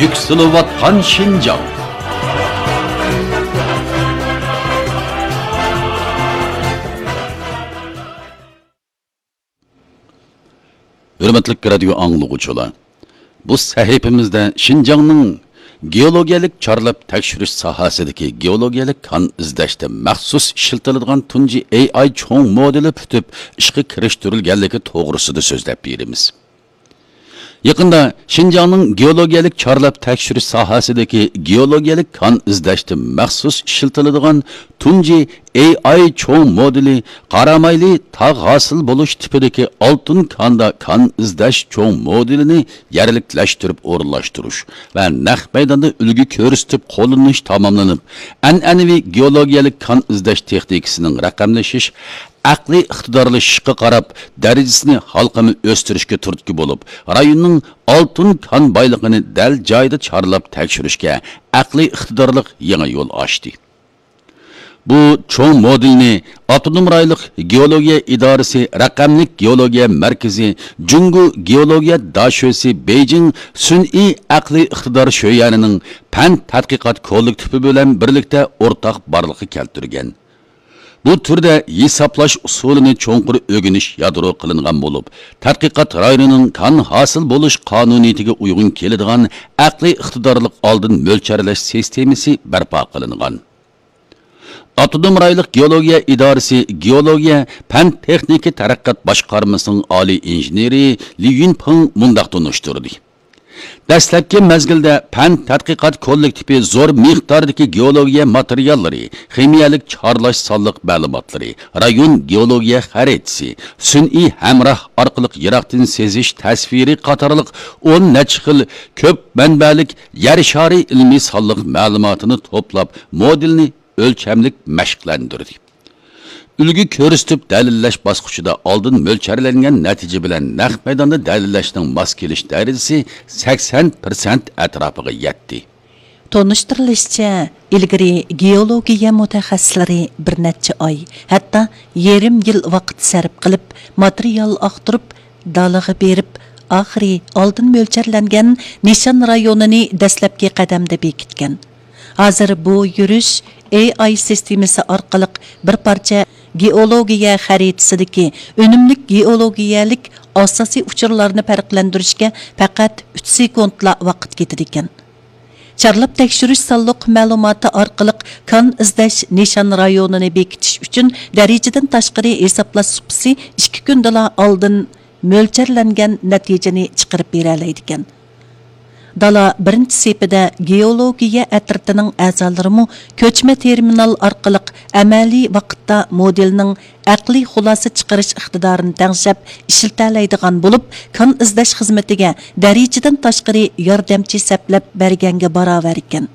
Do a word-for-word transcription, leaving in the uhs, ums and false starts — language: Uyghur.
يۈكسىلىۋاتقان شىنجاڭ. ھۆرمەتلىك رادىيو ئاڭلىغۇچىلار، بۇ سەھىپىمىزدە شىنجاڭنىڭ گېئولوگىيەلىك چارلاپ تەكشۈرۈش ساھەسىدىكى گېئولوگىيەلىك كان ئىزدەشتە مەخسۇس ئىشلىتىلىدىغان تۇنجى ئېي ئاي چوڭ مودېلى پۈتۈپ ئىشقا كىرىشتۈرۈلگەنلىكى توغرىسىدا سۆزلەپ بېرىمىز. يېقىندا شىنجاڭنىڭ گېئولوگىيەلىك چارلاپ تەكشۈرۈش ساھەسىدىكى گېئولوگىيەلىك كان ئىزدەشتە مەخسۇس ئىشلىتىلىدىغان تۇنجى ئېي ئاي چوڭ مودېلى قارامايلى تاغ ھاسىل بولۇش تىپىدىكى ئالتۇن كاندا كان ئىزدەش چوڭ مودېلىنى يەرلىكلەشتۈرۈپ ئورۇنلاشتۇرۇش ۋە نەق مەيداندا ئۈلگە كۆرسىتىپ قوللىنىش تاماملىنىپ، ئەنئەنىۋى گېئولوگىيەلىك كان ئىزدەش تېخنىكىسىنىڭ رەقەملىشىش، ئەقلىي ئىقتىدارلىشىشقا قاراپ، دەرىجىسىنى ھالقىما ئۆستۈرۈشكە تۈرتكە بولۇپ، رايوننىڭ ئالتۇن كان بايلىقىنى دەل جايىدا چارلاپ تەكشۈرۈشكە ئەقلىي ئىقتىدارلىق يېڭى يول ئاچتى. بۇ چوڭ مودېلنى ئاپتونوم رايونلۇق گېئولوگىيە ئىدارىسى رەقەملىك گېئولوگىيە مەركىزى، جۇڭگو گېئولوگىيە داشۆسى بېيجىڭ سۈنئىي ئەقلىي ئىقتىدار شۆيەنىنىڭ پەن تەتقىقات كوللېكتىپى بىلەن بىرلىكتە ئورتاق بارلىققا كەلتۈرگەن. بۇ تۈردە ھېسابلاش ئۇسۇلىنى چوڭقۇر ئۆگىنىش يادرو قىلىنغان بولۇپ، تەتقىقات رايونىنىڭ كان ھاسىل بولۇش قانۇنىيىتىگە ئۇيغۇن كېلىدىغان ئەقلىي ئىقتىدارلىق ئالدىن مۆلچەرلەش سىستېمىسى بەرپا قىلىنغان. ئاپتونوم رايونلۇق گېئولوگىيە ئىدارىسى گېئولوگىيە پەن تېخنىكا تەرەققىيات باشقارمىسىنىڭ ئالىي ئىنژېنېرى لى يۈنپېڭ مۇنداق تونۇشتۇردى. دەسلەپكى مەزگىلدە پەن تەتقىقات كوللېكتىپى زور مىقداردىكى گېئولوگىيە ماتېرىياللىرى، خىمىيەلىك چارلاش سانلىق مەلۇماتلىرى، رايون گېئولوگىيە خەرىتىسى، سۈنئىي ھەمراھ ئارقىلىق يىراقتىن سېزىش تەسۋىرى قاتارلىق ئون نەچچە خىل كۆپ مەنبەلىك يەر شارى ئىلمىي سانلىق مەلۇماتىنى توپلاپ، مودېلنى ئۆلچەملىك مەشىقلەندۈردى. ئۈلگە كۆرسىتىپ دەلىللەش باسقۇچىدا ئالدىن مۆلچەرلەنگەن نەتىجە بىلەن نەق مەيداندا دەلىللەشنىڭ ماس كېلىش دەرىجىسى سەكسەن پىرسەنت ئەتراپىغا يەتتى. تونۇشتۇرۇلۇشىچە، ئىلگىرى گېئولوگىيە مۇتەخەسسىسلىرى بىر نەچچە ئاي، ھەتتا يېرىم يىل ۋاقىت سەرپ قىلىپ، ماتېرىيال ئاختۇرۇپ، دالىغا بېرىپ، ئاخىرى ئالدىن مۆلچەرلەنگەن نىشان رايونىنى دەسلەپكى قەدەمدە بېكىتكەن. ھازىر بۇ يۈرۈش ئېي ئاي سىستېمىسى ئارقىلىق بىر پارچە گېئولوگىيە خەرىتىسىدىكى ئۈنۈملۈك گېئولوگىيەلىك ئاساسىي ئۇچۇرلارنى پەرقلەندۈرۈشكە پەقەت ئۈچ سېكۇنتلا ۋاقىت كېتىدىكەن. چارلاپ تەكشۈرۈش سانلىق مەلۇماتى ئارقىلىق كان ئىزدەش نىشان رايونىنى بېكىتىش ئۈچۈن دەرىجىدىن تاشقىرى ھېسابلاش سۇپىسى ئىككى كۈندىلا ئالدىن مۆلچەرلەنگەن نەتىجىنى چىقىرىپ بېرەلەيدىكەن. دالا بىرىنچى سېپىدە گېئولوگىيە ئەترىتىنىڭ ئەزالىرىمۇ كۆچمە تېرمىنال ئارقىلىق ئەمەلىي ۋاقىتتا مودېلنىڭ ئەقلىي خۇلاسە چىقىرىش ئىقتىدارىنى تەڭشەپ ئىشلىتەلەيدىغان بولۇپ، كان ئىزدەش خىزمىتىگە دەرىجىدىن تاشقىرى ياردەمچى سەپلەپ بەرگەنگە باراۋەر ئىكەن.